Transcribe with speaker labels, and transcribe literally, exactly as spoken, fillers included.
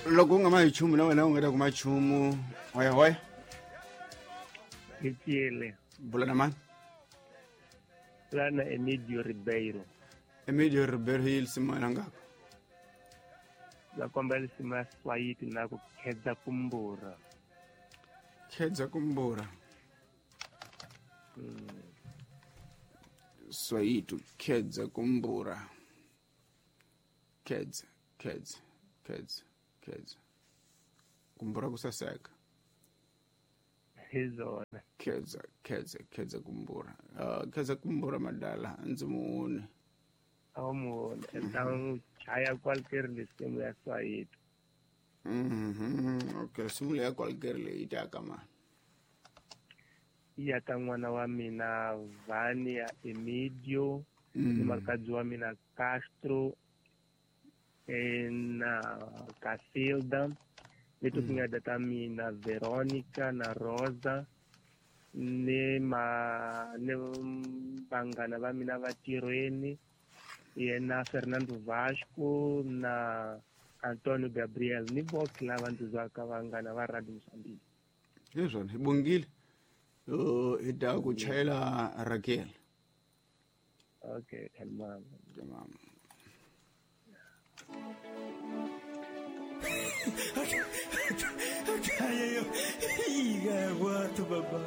Speaker 1: Loko u nga ma hi chumu na wena u nga ta kuma chumu. Hoya hoya.
Speaker 2: Hi tiyele.
Speaker 1: Bula na mani?
Speaker 2: Lana Emidio Ribeiro.
Speaker 1: Emidio Ribeiro hi lisimu ya ngako.
Speaker 2: La kombela lisimu ya Swahili na ku khedza kumbura.
Speaker 1: Khedza kumbura.
Speaker 2: Mm.
Speaker 1: Swahili khedza kumbura. Khedza, khedza, khedza, khedza. Kumbura kusaseka.
Speaker 2: Hizona.
Speaker 1: Khedza, khedza, khedza kumbura. Uh, khedza kumbura madala ndzi muone.
Speaker 2: Amuone. Então chaya qualquer lisimu ya Swahili.
Speaker 1: Mhm. Okay, simu ya qualquer le itaka ma.
Speaker 2: Iya ka n'wana wa mina Vania Emidio,
Speaker 1: Mm.
Speaker 2: ni makadzi wa mina Castro eh, na Casilda, ni tinyada ta mina Veronica na Rosa, ni ma ni vanghana va mina va tirhweni, yena Fernando Vasco na Antonio Gabriel, ni voke lava ndzi zwaka vanghana va Radio Mozambique.
Speaker 1: Hizona, hi bongile. Uh, hi ta ku chayela Raquel.
Speaker 2: Okay, tamam.
Speaker 1: Tamam.
Speaker 3: Kaya yo, iga watu baba.